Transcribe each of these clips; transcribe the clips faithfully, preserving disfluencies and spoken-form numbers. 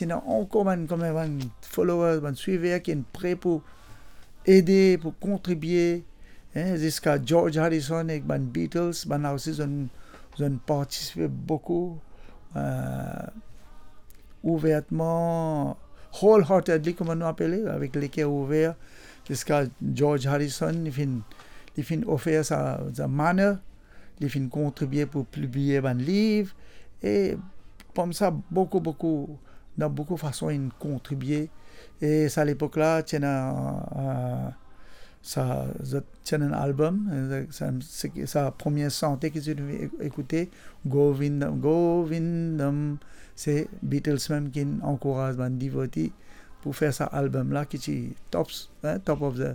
ena ankor bann, kouma bann followers, bann swiver ki ena pre pou ede, pou kontribie, hein, ziska George Harrison ek bann Beatles, bann la osi zot, zot partisipe boukou, euh, ouvertman, wholeheartedly, kouma nou apele, avek leker ouver, ziska George Harrison, li finn, li finn ofer sa, sa manor, li finn kontribie pou pibliye bann liv, e koumsa boukou, boukou, dan boukou fason inn kontribie. E sa lepok la, ti ena, euh, sa, zot ti ena album, euh, sa, se, sa premie sante ki ti finn ek-, ekoute, Govindam, Govindam, se Beatles mem ki ankouraz bann devoti pou fer sa album la ki ti tops, hein, top of the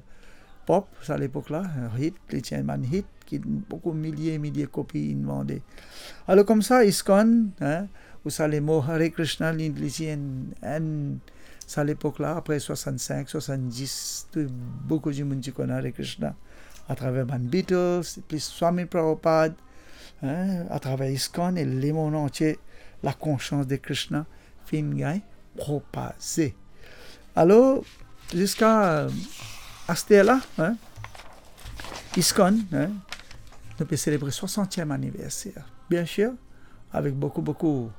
pop, sa lepok la, hit, li ti enn bann hit, ki boukou milie, milie kopi inn vande. Alor koumsa, ISKCON, hein, ou sa lemo Hare Krishna, li, li ti enn, enn, sa lepok la, apre swasannsink, swasanndis, tou boukou dimoun ti konn Hare Krishna, atraver bann Beatles, plis Swami Prabhupada, hein, atraver ISKCON, e lemond antie, lakonsians de Krishna finn gagn propaze. Alor, ziska, euh, aster la, hein, ISKCON, hein, nou pe selebre swasantiem aniverser. Biensir, avek boukou, boukou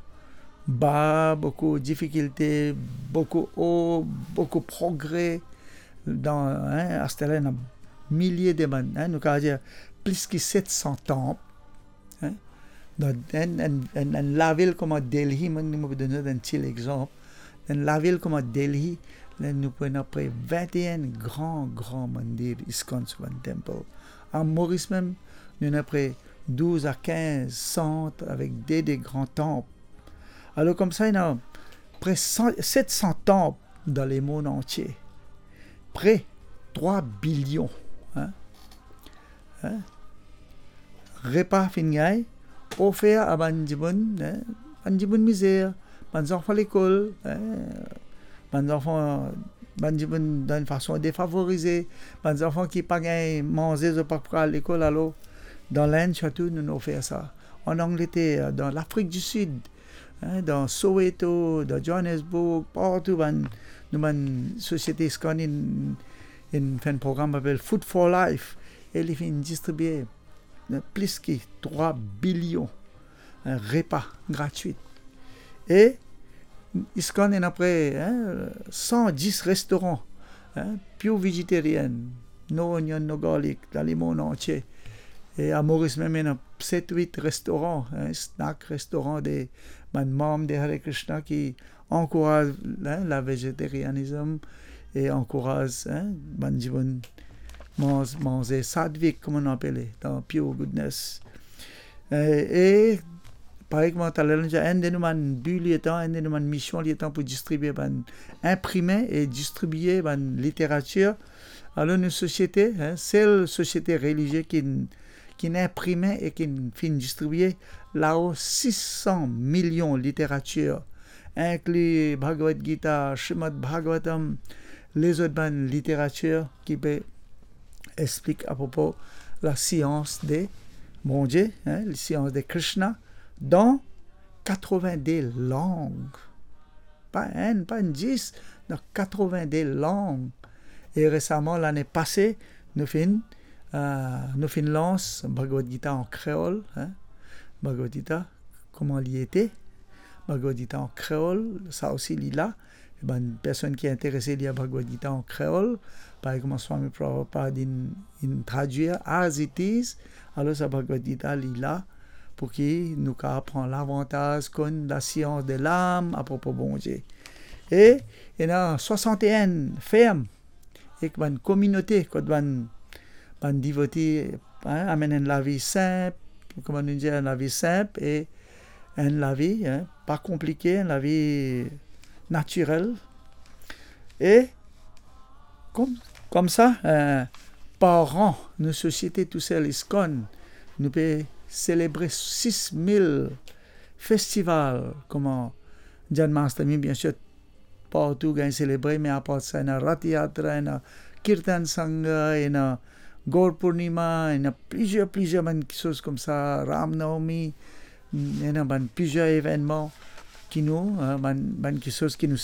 ba, boukou difikilte, boukou o, boukou progre. Dan, hein, aster la, ena milie de bann, hein, nou kapav dir plis ki set san tanp, hein. Dan enn, enn, enn, enn lavil kouma Delhi, mo, mo pou donn zot enn ti lexanp. Enn lavil kouma Delhi, la nou pou ena pre vinte-enn gran, gran mandir, ISKCON, so bann temple. A Moris mem, nou ena pre douz a kinz sant avek de, de gran tanp. Alor koumsa, ena pre san, set san tanp dan lemond antie. Pre trwa bilion, hein? Hein? Repa finn gagn ofer a bann dimoun, hein? Bann dimoun mizer, bann zanfan lekol, hein? Bann zanfan, bann dimoun dan enn fason defavorize, bann zanfan ki pa gagn manze, zot pa pou al lekol, alor dan Lenn sirtou, nou, nou ofer sa. An Angleter, dan Lafrik di Sid, hein, dan Soweto, dan Johannesburg, partou bann, nou bann sosiete ISKCON inn, inn fer enn program apel Food for Life, e li finn distribie, hein, plis ki trwa bilion, hein, repa gratwit. E ISKCON ena pre, hein, san dis restoran, hein, pure vegetarian, no onion, no garlic, dan lemond antie. E a Moris mem ena set, wit restoran, hein, snack, restoran de bann manm de Hare Krishna ki ankouraz, hein, lavegetarianism e ankouraz, hein, bann dimoun manz, manze satvik, kouma nou apele, dan pure goodness. E, e parey kouma taler nou dir, enn de nou bann bi letan, enn de nou bann mision letan pou distribie bann, inprime e distribie bann literatir. Alor nou sosiete, hein, sel sosiete relizie ki, ki inprime e ki finn distribie lao sis san milion literatir, inkli Bhagavad Gita, Srimad Bhagavatam, lezot bann literatir ki pe explik apropo lasians de Bondie, hein, lasians de Krishna, dan katrevinde lang. Pa enn, pa enn dis, dan katrevinde lang. E resaman, lane pase, nou finn, euh, nou finn lans Bhagavad Gita an kreol, hein, Bhagavad Gita, kouma li ete, Bhagavad Gita an kreol, sa osi li la. E bann personn ki interese lir Bhagavad Gita an kreol, parey kouma Swami Prabhupada inn, inn tradwir as it is, alor sa Bhagavad Gita li la pou ki nou kapav pran lavantaz konn lasians de lam apropo Bondie. E ena swasant-e-enn ferm ek bann kominote kot bann, bann devoti, hein, amenn enn lavi sinp, kouma nou dir, enn lavi sinp e enn lavi, hein, pa konplike, enn lavi natirel. E kom, koumsa, euh, par an, nou sosiete tousel ISKCON, nou pe selebre sis mil festival, kouma Janmashtami, biensir, partou gagn selebre, me apar sa, ena Rath Yatra, ena Kirtan Sangha, ena Gaur Purnima, ena plizier, plizier bann kiksoz koumsa, Ram Navami, ena bann plizier evennman ki nou, hein, bann, bann kiksoz ki nou